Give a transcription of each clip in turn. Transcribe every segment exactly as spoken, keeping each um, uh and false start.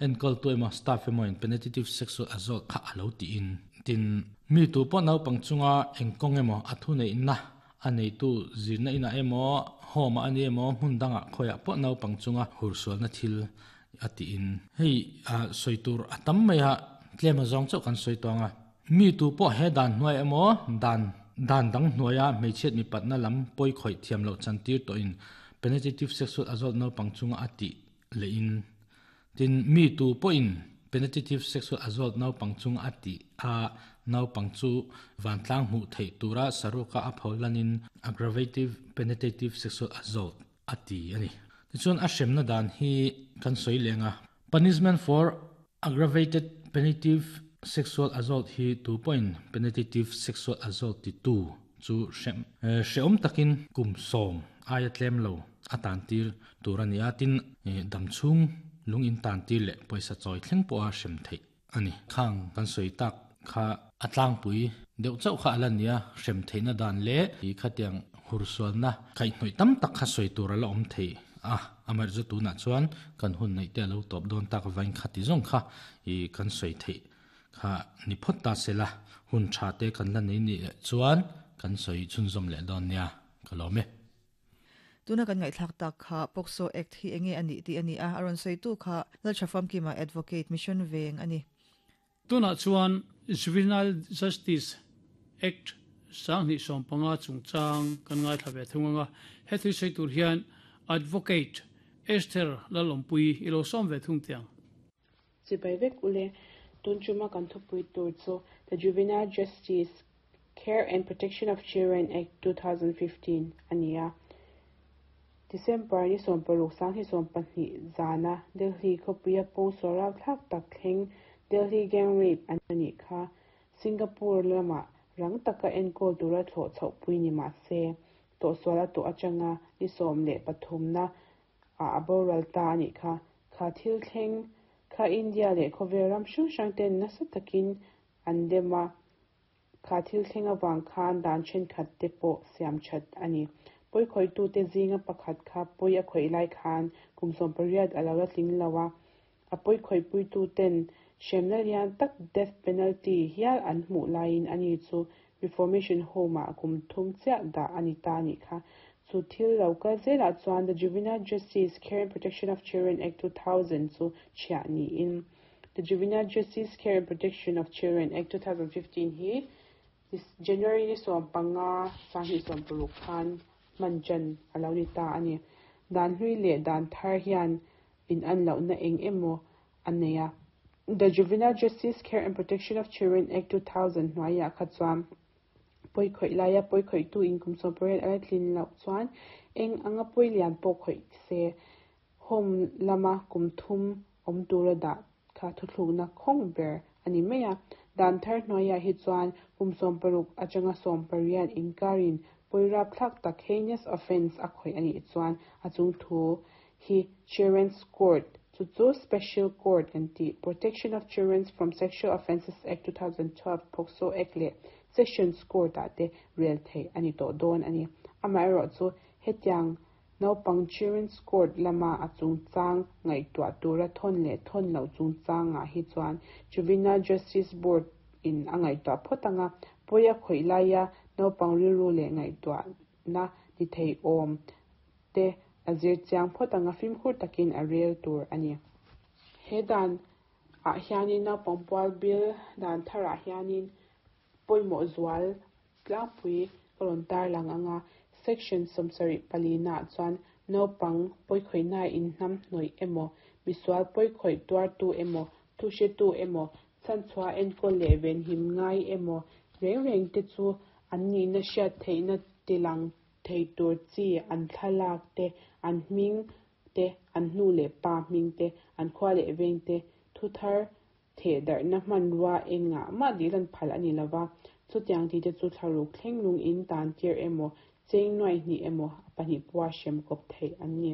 Enkol tu emaw staff emaw in penetrative sexual assault kha alo ti in. Tin mi tu pawh naupang chunga engkawng emaw a thu nei na a nei tu zirna ina emaw home ani emaw hmun danga khoya pawh naupang chunga hursual na thil ati in. Hei a soitur atam mai a tlema zawng chauh kan soi tawnga mi tu pawh he dan hnuai emaw dan dan dang hnuaia hmeichhiat mi patna lam pawi khawih thiam loh chantir tawh in penetrative sexual assault naupang chunga ati le in. Tin mi tu pawh in penetrative sexual assault naupang chunga ati a naupang chu vantlang hmuh theih tura saruka a pholanin aggravative penetrative sexual assault ati ani. Tichuan a hremna dan hi kan soi lenga punishment for aggravated penetrative sexual assault hi two point penetrative sexual assault ti two chu hrem hreom takin kum som aya tlem lo atan tir turani atin damchung lung in tan tir le paisa choi thleng po a hrem thei ani. Khang kan soi tak kha atlang pui deuh chau kha alania hrem theina dan le i khatiang hursual na khai hnoi tam tak kha soi tur ala om thei a. Amar zu tu na chuan kan hun nei te lo top don tak vain khati zong kha i kan soi thei kha ni phot ta sela hun tha te kan la nei ni chuan kan soi chun zom le don nia kalome. Tuna kan ngai thlak tak kha POCSO Act hi enge ani ti ani a aron soi tu kha lal thafam ki ma advocate mission veng ani. Tuna chuan Juvenile Justice Act sang ni som panga chung chang kan ngai thlave thunga he thui sei tur hian advocate Esther Lalompui ilo som ve thung tiang. Chibai vek ule tun chuma kan thupui tur chu the Juvenile Justice Care and Protection of Children Act twenty fifteen ania. December ni som paruk sang hi som pahnih zana Delhi khopuia pawng sawrau thlak tak thleng Delhi gang rape ani kha Singapore lama rang taka enkol tura thlawh chhoh pui ni ma se to suala to atanga ni som le pathum na a aboral ta ani kha kha thil thleng kha India le khoveram hrang hrang ten nasa takin an dema kha thil thleng awang khan dan then khat te pawh siam that ani. Poi khoi tu te zinga pakhat kha poi a khoi lai khan kumsom pariat alawa tling lawa a poi khoi pui tu ten hremna lian tak death penalty hial an hmuh laiin ani chu reformation home a kum thum chiah da ani ta ni kha. Chu thil lo ka zela chuan the Juvenile Justice Care and Protection of Children Act two thousand chu chhiah ni in. The Juvenile Justice Care and Protection of Children Act two thousand fifteen hi this January ni som panga sang hi som paruk khan manchan alo ni ta ani. Dan hlui le dan thar hian in an lo na eng emo aneya. The Juvenile Justice Care and Protection of Children Act two thousand hnuaia kha chuan poi khoi laia poi khoi tu in kum som pariat ala tlin lo chuan eng anga poi lian pawh khoi se home lama kum thum awm tura dah kha thuthlukna khawng ber ani mai a. Dan thar hnuaia hi chuan kum som paruk atanga som pariat inkarin poirap thlak tak heinous offense a khoi ani chuan a chung thu hi Children's Court chu chu Special Court and the Protection of Children from Sexual Offences Act two thousand twelve POCSO Act le Sessions Court a te rel thei ani to don ani. Amai ro chu hetiang naupang Children's Court lama a chung chang ngai tua tura thon le thon lo chung chang a hi chuan Juvenile Justice Board in angai tua photanga poya khoi laia naupang riru le ngai tua na ni thei om te azir chiang photanga film khur takin a rel tur ani. He dan a hianin naupang pual bil dan thara hianin poimo zual tlangpui kalon tar lang anga section somsari palina chuan naupang poi khoina in hnam hnoi emo misual poi khoi tuar tu emo thu she tu emo chan chua enkol le ven him ngai emo reng reng te chu an ni na hriat theihna tilang thei tur chi an thlalak te an hming te an hnu le pa hming te an khua le veng te thu thar the dar na hman ruwa enga ma dilan phal ani lova chu tiang ti te chu tharuk thleng lung in tan tir emo cheng noi ni emo pahnih puwa hrem kawp thei an ni.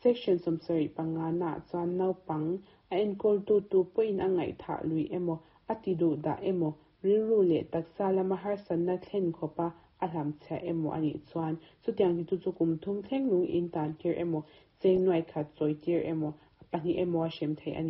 Section somsari panga na chuan naupang a enkol tu tu pawhin a ngaihthah lui emo a ti duh dah emo rilru le taksa lama harsatna thlen khawpa a hlam chhia emo ani chuan chutiang ti tu chu kum thum thleng lung in tan tir emo cheng nuai khat chawi tir emo pahnih emo a hrem thei ani.